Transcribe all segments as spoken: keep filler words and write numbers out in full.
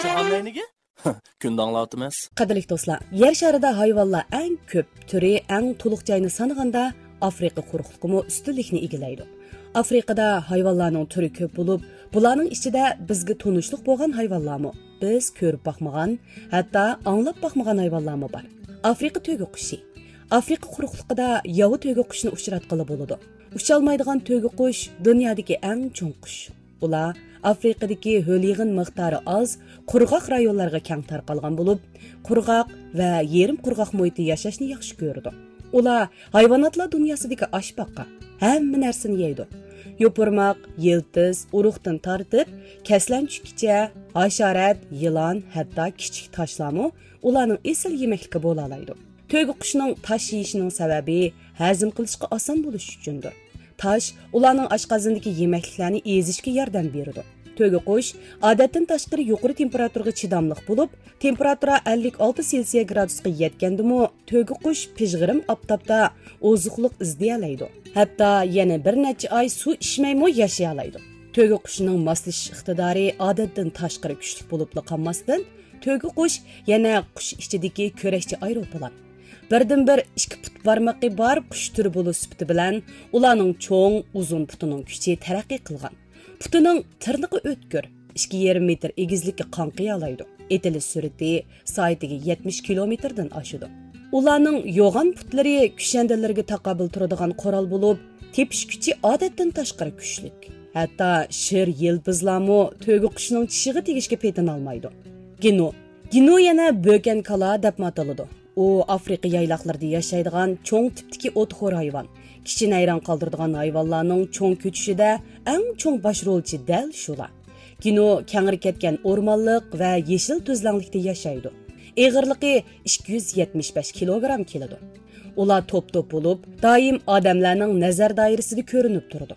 جاھان نەينىگە؟ كۈندە ئاڭلاۋاتىمىز. قەدىرلىك دوستلار، يەر شارىدا ھايۋانلار ئەڭ كۆپ، تۈرى ئەڭ تولۇق جاينى سانىغاندا، ئافرىقا قۇرۇقلۇقىمۇ ئۈستۈنلۈكنى ئىگىلەيدۇ. ئافرىقىدا ھايۋانلارنىڭ تۈرى كۆپ بولۇپ، بۇلارنىڭ ئىچىدە بىزگە تونۇشلۇق بولغان ھايۋانلارمۇ، بىز كۆرۈپ باقمىغان، ھەتتا ئاڭلاپ باقمىغان ھايۋانلارمۇ بار. ئافرىقا تۆگە قۇشى. ئافرىقا قۇرۇقلۇقىدا ياۋا تۆگە قۇشىنى ئۇچراتقىلى بولىدۇ. ئۇچالمايدىغان تۆگە قۇش دۇنيادىكى ئەڭ چوڭ قۇش. ئۇلار ئافرىقىدىكى ھۆل يېغىن مىقدارى ئاز، قۇرغاق رايونلارغا كەڭ تارقالغان بولۇپ، قۇرغاق ۋە يېرىم قۇرغاق مۇھىتتا ياشاشنى ياخشى كۆرىدۇ. ئۇلار ھايۋاناتلار دۇنياسىدىكى ئاشپاقا، ھەممە نەرسىنى يەيدۇ. يوپۇرماق، يىلتىز، ئۇرۇقتىن تارتىپ، كەسلەنچۈككىچە، ھاشارات، يىلان، ھەتتا كىچىك تاشلارمۇ ئۇلارنىڭ ئېسىل يېمەكلىكى بولالايدۇ. تۆگە قۇشىنىڭ تاش يېيىشىنىڭ سەۋەبى ھەزىم قىلىشقا ئاسان بولۇشى ئۈچۈندۇر. تاش ئۇلارنىڭ ئاشقازىنىدىكى يېمەكلىكلەرنى ئېزىشكە ياردەم بېرىدۇ. تۆگە قۇش ئادەتتىن تاشقىرى يۇقىرى تېمپېراتۇرىغا چىداملىق بولۇپ، تېمپېراتۇرا ئەللىك ئالتە سېلسىيە گرادۇسقا يەتكەندىمۇ، تۆگە قۇش پىژغىرىم ئاپتاپتا ئوزۇقلۇق ئىزدىيەلەيدۇ. ھەتتا يەنە بىر نەچچە ئاي سۇ ئىچمەيمۇ ياشىيالايدۇ. تۆگە قۇشىنىڭ ماسلىشىش ئىقتىدارى ئادەتتىن تاشقىرى كۈچلۈك بولۇپلا قالماستىن، تۆگە قۇش يەنە قۇش ئىچىدىكى كۈرەشچى ئايروپىلان. بىردىنبىر ئىككى پۇت بارمىقى بار قۇش تۈرى بولۇش سۈپىتى بىلەن، ئۇلارنىڭ چوڭ، ئۇزۇن پۇتىنىڭ كۈچى تەرەققىي قىلغان. پۇتىنىڭ تىرنىقى ئۆتكۈر، ئىككى يېرىم مېتىر ئېگىزلىككە قاڭقىيالايدۇ. ئېتىلىش سۈرئىتى سائىتىگە يەتمىش كىلومېتىردىن ئاشىدۇ. ئۇلارنىڭ يوغان پۇتلىرى كۈشەندىلىرىگە تاقابىل تۇرىدىغان قورال بولۇپ، تېپىش كۈچى ئادەتتىن تاشقىرى كۈچلۈك. ھەتتا شىر يىلپىزلارمۇ تۆگە قۇشىنىڭ چىشىغا تېگىشكە پېتىنالمايدۇ. گىنو. گىنو يەنە بۆكەن كالا دەپمۇ ئاتىلىدۇ. ئۇ ئافرىقا يايلاقلىرىدا ياشايدىغان چوڭ تىپتىكى ئوتخور ھايۋان. كىشىنى ھەيران قالدۇرىدىغان ھايۋانلارنىڭ چوڭ كۆچۈشىدە ئەڭ چوڭ باش رولچى دەل شۇلار. گىنو كەڭرى كەتكەن ئورمانلىق ۋە يېشىل تۈزلەڭلىكتە ياشايدۇ. ئېغىرلىقى ئىككى يۈز يەتمىش بەش كىلوگرام كېلىدۇ. ئۇلار توپ-توپ بولۇپ، دائىم ئادەملەرنىڭ نەزەر دائىرىسىدا كۆرۈنۈپ تۇرىدۇ.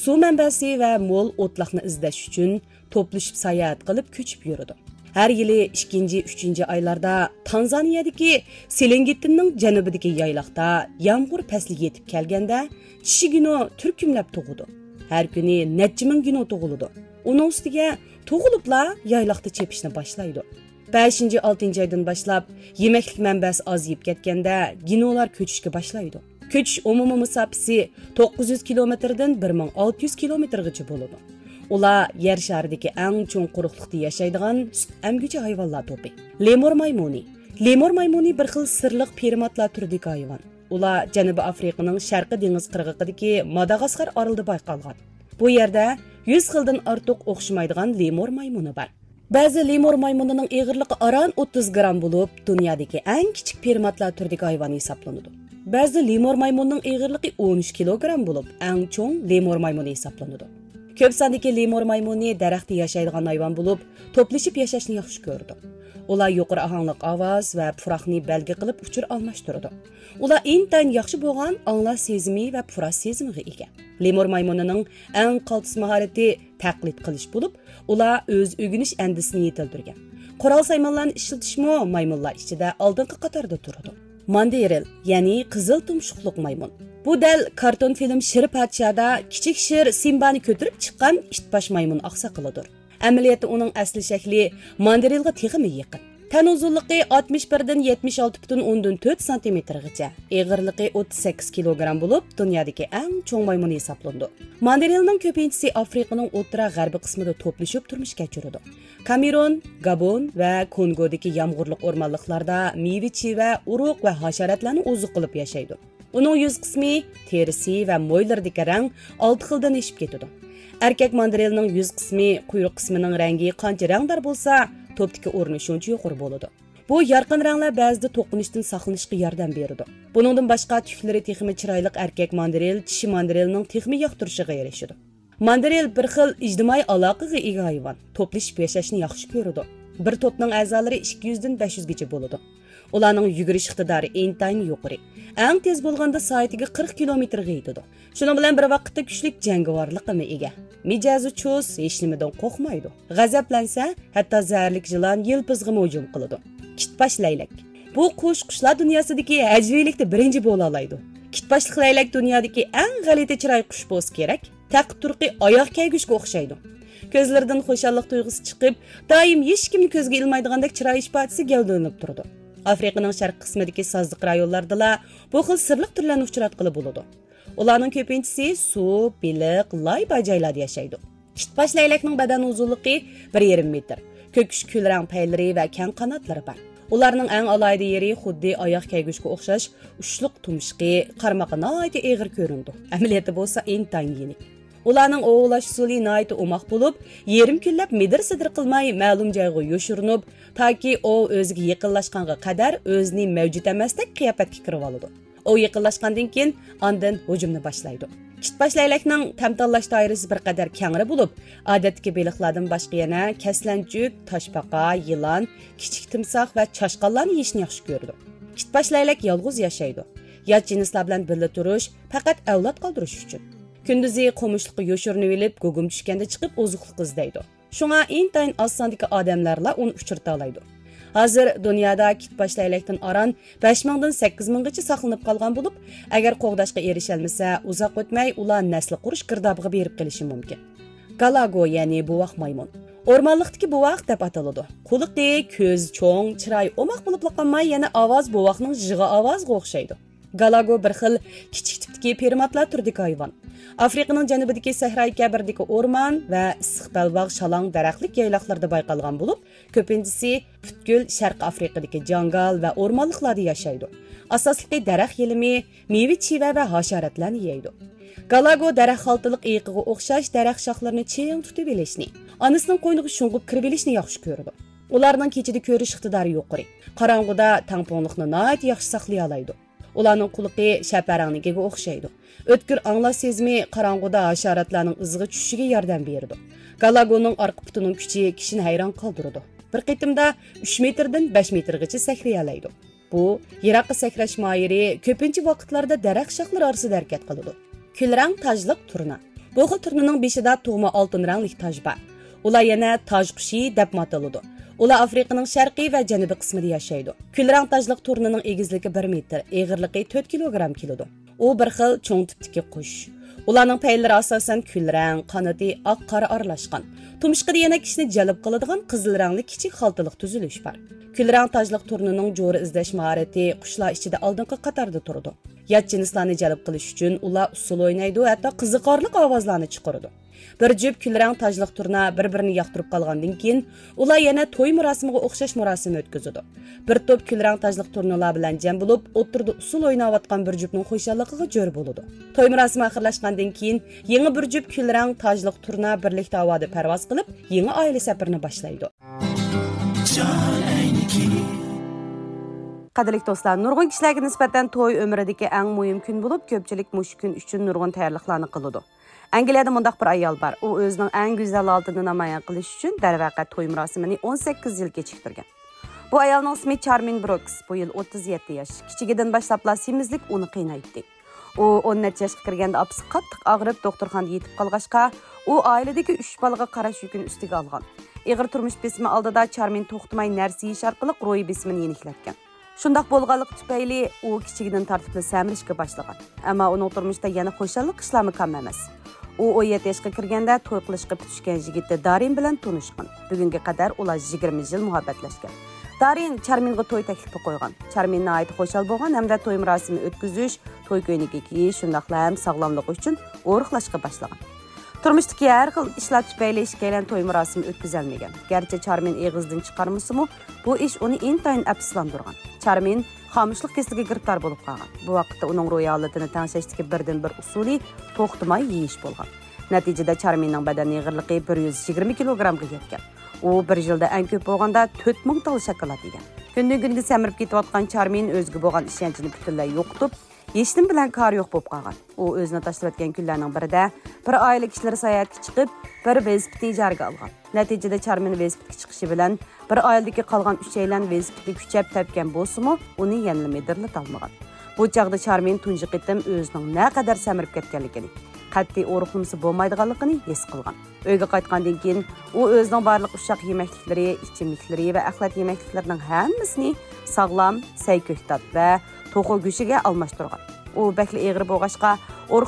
سۇ مەنبەسى ۋە مول ئوتلاقنى ئىزدەش ئۈچۈن توپلىشىپ ساياھەت قىلىپ كۆچۈپ يۈرىدۇ. ھەر يىلى ئىككىنچى، ئۈچىنچى ئايلاردا تانزانىيەدىكى سېلېنگېتتىننىڭ جەنۇبىدىكى يايلاقتا يامغۇر پەسلى يېتىپ كەلگەندە، چىشى گىنو تۈركۈملەپ تۇغىدۇ. ھەر كۈنى نەچچە مىڭ گىنو تۇغۇلىدۇ. ئۇنىڭ ئۈستىگە تۇغۇلۇپلا يايلاقتا چېپىشنى باشلايدۇ. بەشىنچى، ئالتىنچى ئايدىن باشلاپ يېمەكلىك مەنبەسى ئازىيىپ كەتكەندە، گىنولار كۆچۈشكە باشلايدۇ. كۆچۈش ئومۇمىي مۇساپىسى توققۇز يۈز كىلومېتىردىن بىر مىڭ ئالتە يۈز كىلومېتىرغىچە بولىدۇ. ئۇلار يەر شارىدىكى ئەڭ چوڭ قۇرۇقلۇقتا ياشايدىغان سۈت ئەمگۈچى ھايۋانلار توپى. لېمۇر مايمۇنى. لېمۇر مايمۇنى بىر خىل سىرلىق پرىماتلار تۈرىدىكى ھايۋان. ئۇلار جەنۇبىي ئافرىقىنىڭ شەرقىي دېڭىز قىرغىقىدىكى ماداغاسكار ئارىلىدا بايقالغان. بۇ يەردە يۈز خىلدىن ئارتۇق ئوخشىمايدىغان لېمۇر مايمۇنى بار. بەزى لېمۇر مايمۇنىنىڭ ئېغىرلىقى ئاران ئوتتۇز گرام بولۇپ، دۇنيادىكى ئەڭ كىچىك پرىماتلار تۈرىدىكى ھايۋان ھېسابلىنىدۇ. بەزى لېمۇر مايمۇنىنىڭ ئېغىرلىقى ئون ئۈچ كىلوگرام بولۇپ، ئەڭ چوڭ لېمۇر مايمۇنى ھېسابلىنىدۇ. كۆپ ساندىكى لېمۇر مايمۇنى دەرەختە ياشايدىغان ھايۋان بولۇپ، توپلىشىپ ياشاشنى ياخشى كۆرىدۇ. ئۇلار يۇقىرى ئاھاڭلىق ئاۋاز ۋە پۇراقنى بەلگە قىلىپ ئۇچۇر ئالماشتۇرىدۇ. ئۇلار ئىنتايىن ياخشى بولغان ئاڭلاش سېزىمى ۋە پۇراش سېزىمىغا ئىگە. لېمۇر مايمۇنىنىڭ ئەڭ قالتىس ماھارىتى تەقلىد قىلىش بولۇپ، ئۇلار ئۆز ئۆگىنىش ئەندىزىسىنى يېتىلدۈرگەن. قورال سايمانلارنى ئىشلىتىشمۇ مايمۇنلار ئىچىدە ئالدىنقى قاتاردا تۇرىدۇ. ماندېرىل، يەنى قىزىل تۇمشۇقلۇق مايمۇن. بۇ دەل كارتون فىلىم شىر پادىشاھدا كىچىك شىر سىمبانى كۆتۈرۈپ چىققان ئىتباش مايمۇن ئاقساقىلىدۇر. ئەمەلىيەتتە ئۇنىڭ ئەسلى شەكلى ماندېرىلغا تېخىمۇ يېقىن. تەن ئۇزۇنلۇقى ئاتمىش بىردىن يەتمىش ئالتە پۈتۈن ئوندىن تۆت سانتىمېتىرغىچە، ئېغىرلىقى ئوتتۇز سەككىز كىلوگرام بولۇپ، دۇنيادىكى ئەڭ چوڭ مايمۇن ھېسابلىنىدۇ. ماندېرىلنىڭ كۆپىنچىسى ئافرىقىنىڭ ئوتتۇرا غەربىي قىسمىدا توپلىشىپ تۇرمۇش كەچۈرىدۇ. كامېرون، گابون ۋە كونگودىكى يامغۇرلۇق ئورمانلىقلاردا مېۋە-چىۋە، ئۇرۇق ۋە ھاشاراتلارنى ئوزۇق قىلىپ ياشايدۇ. ئۇنىڭ يۈز قىسمى، تېرىسى ۋە مويلىرىدىكى رەڭ ئالتە خىلدىن ئېشىپ كېتىدۇ. ئەركەك ماندېرىلنىڭ يۈز قىسمى، قۇيرۇق قىسمىنىڭ رەڭگى قانچە رەڭدار بولسا، توپتىكى ئورنى شۇنچە يۇقىرى بولىدۇ. بۇ يارقىن رەڭلەر بەزىدە توقۇنۇشتىن ساقلىنىشقا ياردەم بېرىدۇ. بۇنىڭدىن باشقا، تۈكلىرى تېخىمۇ چىرايلىق ئەركەك ماندېرىل چىشى ماندېرىلنىڭ تېخىمۇ ياقتۇرۇشىغا ئېرىشىدۇ. ماندېرىل بىر خىل ئىجتىمائىي ئالاقىگە ئىگە ھايۋان، توپلىشىپ ياشاشنى ياخشى كۆرىدۇ. بىر توپنىڭ ئەزالىرى ئىككى يۈزدىن بەش يۈزگىچە بولىدۇ. ئۇلارنىڭ يۈگۈرۈش ئىقتىدارى ئىنتايىن يۇقىرى. ئەڭ تېز بولغاندا سائىتىگە قىرىق كىلومېتىرغا يېتىدۇ. شۇنىڭ بىلەن بىر ۋاقىتتا كۈچلۈك جەڭگىۋارلىققىمۇ ئىگە. مىجەزى چۇس، ھېچنېمىدىن قورقمايدۇ. غەزەپلەنسە، ھەتتا زەھەرلىك يىلان يىلپىزغىمۇ ھۇجۇم قىلىدۇ. كىتباش لەيلەك. بۇ قۇش قۇشلار دۇنياسىدىكى ھەجۋىيلىكتە بىرىنچى بولالايدۇ. كىتباشلىق لەيلەك دۇنيادىكى ئەڭ غەلىتە چىراي قۇش بولسا كېرەك. تەقى تۇرقى ئاياغ كەيگۈچكە ئوخشايدۇ. كۆزلىرىدىن خۇشاللىق تۇيغۇسى چىقىپ، دائىم ھېچكىمنى كۆزگە ئىلمايدىغاندەك چىراي ئىپادىسى گەۋدىلىنىپ تۇرىدۇ. ئافرىقىنىڭ شەرقىي قىسمىدىكى سازلىق رايونلاردىلا بۇ خىل سىرلىق تۈرلەرنى ئۇچراتقىلى بولىدۇ. ئۇلارنىڭ كۆپىنچىسى سۇ، بېلىق، لاي بار جايلاردا ياشايدۇ. كىتباش لەگلەكنىڭ بەدەن ئۇزۇنلۇقى بىر يېرىم مېتىر. كۆكۈش كۈلرەڭ پەيلىرى ۋە كەڭ قاناتلىرى بار. ئۇلارنىڭ ئەڭ ئالاھىدە يېرى خۇددى ئاياغ كەيگۈچكە ئوخشاش ئۇچلۇق تۇمشۇقى، قارمىقى ناھايىتى ئېغىر كۆرۈنىدۇ. ئەمەلىيەتتە بولسا ئىنتايىن يېنىك. ئۇلارنىڭ ئوۋلاش ئۇسۇلى ناھايىتى ئوماق بولۇپ، يېرىم كۈنلەپ مىدىر-سىدىر قىلماي مەلۇم جايغا يوشۇرۇنۇپ، تاكى ئوۋ ئۆزىگە يېقىنلاشقانغا قەدەر ئۆزىنى مەۋجۇت ئەمەستەك قىياپەتكە كىرىۋالىدۇ. ئوۋ يېقىنلاشقاندىن كېيىن ئاندىن ھۇجۇمنى باشلايدۇ. كىتباش لەگلەكنىڭ تەم تاللاش دائىرىسى بىر قەدەر كەڭرى بولۇپ، ئادەتتىكى بېلىقلاردىن باشقا يەنە كەسلەنچۈك، تاشپاقا، يىلان، كىچىك تىمساھ ۋە چاشقانلارنى يېيىشنى ياخشى كۆرىدۇ. كىتباش لەگلەك يالغۇز ياشايدۇ. يات جىنسلار بىلەن بىللە تۇرۇش پەقەت ئەۋلاد قالدۇرۇش ئۈچۈن. كۈندۈزى قومۇشلۇققا يوشۇرۇنۇۋېلىپ، گۇگۇم چۈشكەندە چىقىپ ئوزۇقلۇق ئىزدەيدۇ. شۇڭا ئىنتايىن ئاز ساندىكى ئادەملەرلا ئۇنى ئۇچرىتالايدۇ. ھازىر دۇنيادا كىتباش لەگلەكتىن ئاران بەش مىڭدىن سەككىز مىڭغىچە ساقلىنىپ قالغان بولۇپ، ئەگەر قوغداشقا ئېرىشەلمىسە، ئۇزاق ئۆتمەي ئۇلار نەسلى قۇرۇش گىردابىغا بېرىپ قېلىشى مۇمكىن. گالاگو، يەنى بوۋاق مايمۇن. ئورمانلىقتىكى بوۋاق دەپ ئاتىلىدۇ. قۇلىقى، كۆزى چوڭ، چىرايى ئوماق بولۇپلا قالماي، يەنە ئاۋاز بوۋاقنىڭ جىغا ئاۋازىغا ئوخشايدۇ. گالاگو بىر خىل كىچىك تىپتىكى پىرماتلار تۈرىدىكى ھايۋان. ئافرىقىنىڭ جەنۇبىدىكى سەھرايى كەبىردىكى ئورمان ۋە ئىسسىق بەلباغ شالاڭ دەرەخلىك يايلاقلىرىدا بايقالغان بولۇپ، كۆپىنچىسى پۈتكۈل شەرقىي ئافرىقىدىكى جاڭگال ۋە ئورمانلىقلاردا ياشايدۇ. ئاساسلىقى دەرەخ يېلىمى، مېۋە، چىۋە ۋە ھاشاراتلارنى يەيدۇ. گالاگو دەرەخ خالتىلىق ئېيىقىغا ئوخشاش دەرەخ شاخلىرىنى چىڭ تۇتۇۋېلىشنى، ئانىسىنىڭ قوينىغا شۇڭغۇپ كىرىۋېلىشنى ياخشى كۆرىدۇ. ئۇلارنىڭ كېچىدە كۆرۈش ئىقتىدارى يۇقىرى. قاراڭغۇدا تەڭپۇڭلۇقنى ناھايىتى ياخشى ساقلىيالايدۇ. ئۇلارنىڭ قۇلىقى شەپەرەڭنىڭكىگە ئوخشايدۇ. ئۆتكۈر ئاڭلاش سېزىمى قاراڭغۇدا ھاشاراتلارنىڭ ئىزىغا چۈشۈشىگە ياردەم بېرىدۇ. گالاگونىڭ ئارقا پۇتىنىڭ كۈچى كىشىنى ھەيران قالدۇرىدۇ. بىر قېتىمدا ئۈچ مېتىردىن بەش مېتىرغىچە سەكرىيەلەيدۇ. بۇ يىراققا سەكرەش ماھىرى كۆپىنچە ۋاقىتلاردا دەرەخ شاخلىرى ئارىسىدا ھەرىكەت قىلىدۇ. كۈلرەڭ تاجلىق تۇرنا. بۇ خىل تۇرنىنىڭ بېشىدا تۇغما ئالتۇن رەڭلىك تاج بار. ئۇلار يەنە تاج قۇشى دەپمۇ ئاتىلىدۇ. ئۇلار ئافرىقىنىڭ شەرقىي ۋە جەنۇبىي قىسمىدا ياشايدۇ. كۈلرەڭ تاجلىق تۇرنىنىڭ ئېگىزلىكى بىر مېتىر، ئېغىرلىقى تۆت كىلوگرام كېلىدۇ. ئۇ بىر خىل چوڭ تىپتىكى قۇش. ئۇلارنىڭ پەيلىرى ئاساسەن كۈلرەڭ، قانىتى ئاق-قارا ئارىلاشقان. تۇمشۇقىدا يەنە كىشىنى جەلپ قىلىدىغان قىزىل رەڭلىك كىچىك خالتىلىق تۈزۈلۈش بار. كۈلرەڭ تاجلىق تۇرنىنىڭ جورا ئىزدەش ماھارىتى قۇشلار ئىچىدە ئالدىنقى قاتاردا تۇرىدۇ. يات جىنسلارنى جەلپ قىلىش ئۈچۈن ئۇلار ئۇسسۇل ئوينايدۇ، ھەتتا قىزىقارلىق ئاۋازلارنى چىقىرىدۇ. بىر جۈپ كۈلرەڭ تاجلىق تۇرنا بىر-بىرىنى ياقتۇرۇپ قالغاندىن كېيىن، ئۇلار يەنە توي مۇراسىمىغا ئوخشاش مۇراسىم ئۆتكۈزىدۇ. بىر توپ كۈلرەڭ تاجلىق تۇرنىلار بىلەن جەم بولۇپ، ئوتتۇرىدا ئۇسسۇل ئويناۋاتقان بىر جۈپنىڭ خۇشاللىقىغا جۆر بولىدۇ. توي مۇراسىمى ئاخىرلاشقاندىن كېيىن، يېڭى بىر جۈپ كۈلرەڭ تاجلىق تۇرنا بىرلىكتە ھاۋادا پەرۋاز قىلىپ، يېڭى ئائىلە سەپىرىنى باشلايدۇ. قەدىرلىك دوستلار، نۇرغۇن كىشىلەرگە نىسبەتەن توي ئۆمرىدىكى ئەڭ مۇھىم كۈن بولۇپ، كۆپچىلىك مۇشۇ كۈن ئۈچۈن نۇرغۇن تەييارلىقلارنى قىلىدۇ. ئەنگلىيەدە مۇنداق بىر ئايال بار. ئۇ ئۆزىنىڭ ئەڭ گۈزەل ھالىتىنى نامايان قىلىش ئۈچۈن، دەرۋەقە، توي مۇراسىمىنى ئون سەككىز يىل كېچىكتۈرگەن. بۇ ئايالنىڭ ئىسمى چارمىن بروكس. بۇ يىل ئوتتۇز يەتتە ياش. كىچىكىدىن باشلاپلا سېمىزلىك ئۇنى قىينايتتى. ئۇ ئون نەچچە ياشقا كىرگەندە ئاپىسى قاتتىق ئاغرىپ، دوختۇرخانىدا يېتىپ قالغاچقا، ئۇ ئائىلىدىكى ئۈچ بالىغا قاراش يۈكىنى ئۈستىگە ئالغان. ئېغىر تۇرمۇش بېسىمى ئالدىدا چارمىن توختىماي نەرسە يېيىش ئارقىلىق روھىي بېسىمىنى يېنىكلەتكەن. شۇنداق بولغانلىقى تۈپەيلى، ئۇ كىچىكىدىن تارتىپلا سەمرىشكە باشلىغان. ئەمما ئۇنىڭ تۇرمۇشتا يەنە خۇشاللىق ئىشلارمۇ كام ئەمەس. ئۇ ئون يەتتە ياشقا كىرگەندە توي قىلىشقا پۈتۈشكەن يىگىتى دارىن بىلەن تونۇشقان. بۈگۈنگە قەدەر ئۇلار يىگىرمە يىل مۇھەببەتلەشكەن. دارىن چارمىنغا توي تەكلىپى قويغان. چارمىن ناھايىتى خۇشال بولغان ھەمدە توي مۇراسىمى ئۆتكۈزۈش، توي كۆينىكى كىيىش، شۇنداقلا ھەم ساغلاملىقى ئۈچۈن ئورۇقلاشقا باشلىغان. تۇرمۇشتىكى ھەر خىل ئىشلار تۈپەيلى ئىككىيلەن توي مۇراسىمى ئۆتكۈزەلمىگەن. گەرچە چارمىن ئېغىزدىن چىقارمىسىمۇ، بۇ ئىش ئۇنى ئىنتايىن ئەپسۇسلاندۇرغان. چارمىن خامۇشلۇق كېسىلىگە گىرىپتار بولۇپ قالغان. بۇ ۋاقىتتا ئۇنىڭ روھىي ھالىتىنى تەڭشەشتىكى بىردىنبىر ئۇسۇلى توختىماي يېيىش بولغان. نەتىجىدە چارمىننىڭ بەدەن ئېغىرلىقى بىر يۈز يىگىرمە كىلوگرامغا يەتكەن. ئۇ بىر يىلدا ئەڭ كۆپ بولغاندا تۆت مىڭ تال شاكىلات يېگەن. كۈندىن كۈنگە سەمرىپ كېتىۋاتقان چارمىن ئۆزىگە بولغان ئىشەنچىنى پۈتۈنلەي يوقىتىپ، ھېچنېمە بىلەن كارى يوق بولۇپ قالغان. ئۇ ئۆزىنى تاشلىۋەتكەن كۈنلەرنىڭ بىرىدە بىر ئائىلە كىشىلىرى ساياھەتكە چىقىپ، بىر ۋېلىسىپىتنى ئىجارىگە ئالغان. نەتىجىدە چارمىن ۋېلىسىپىتكە چىقىشى بىلەن، بىر ئائىلىدىكى قالغان ئۈچەيلەن ۋېلىسىپىتنى كۈچەپ تەپكەن بولسىمۇ، ئۇنى يەنىلا مىدىرلىتالمىغان. بۇ چاغدا چارمىن تۇنجى قېتىم ئۆزىنىڭ نەقەدەر سەمرىپ كەتكەنلىكىنى، قەتئىي ئورۇقلىمىسا بولمايدىغانلىقىنى ھېس قىلغان. ئۆيگە قايتقاندىن كېيىن، ئۇ ئۆزىنىڭ بارلىق ئۇششاق يېمەكلىكلىرى، ئىچىملىكلىرى ۋە ئەخلەت يېمەكلىكلىرىنىڭ ھەممىسىنى ساغلام سەي كۆكتات ۋە توخۇ گۆشىگە ئالماشتۇرغان. ئۇ بەكلا ئېغىر بولغاچقا، ئورۇقلاشقا